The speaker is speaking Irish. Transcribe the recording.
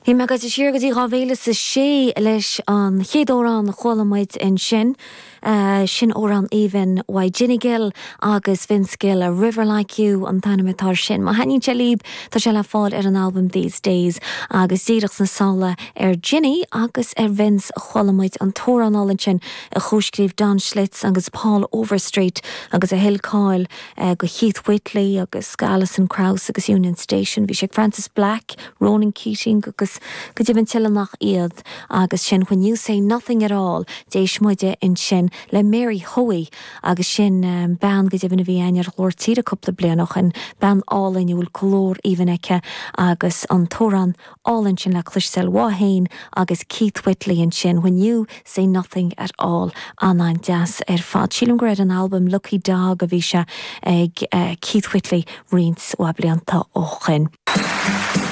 Bhí mé ag goil siar go dtí 2006 leis an chéad amhrán a chuala muid ansin. Sin amhrán aoibhinn uaidh Ginny Gill agus Vince Gill, A River Like You an t-ainm atá air sin. Má thaitníonn sé libh, tá sé le fáil ar an albam These Days. Agus díreach sna sála ar Ginny agus ar Vince a chuala muid an t-amhrán álainn sin a chomhscríobh Don Schlitz agus Paul Overstreet agus a thuill cáil go Keith Whitley agus go Alison Krauss agus Union Station. Bhí sé ag Frances Black, Ronan Keating agus go deimhin tuilleadh nach iad agus sin When You Say Nothing At All. D'éist muide ansin le Mary Hoey agus sin bean go deimhin a bhí againn ar Ghlór Tíre cúpla bliain ó shin, bean álainn a bhfuil glór aoibhinn aici agus an t-amhrán álainn sin le cloisteáil uaithi féin agus Keith Whitley ansin, When You Say Nothing At All. An-an-deas ar fad. Sílim gur ar an albam Lucky Dog a bhí sé ag Keith Whitley roinnt mhaith blianta ó shin.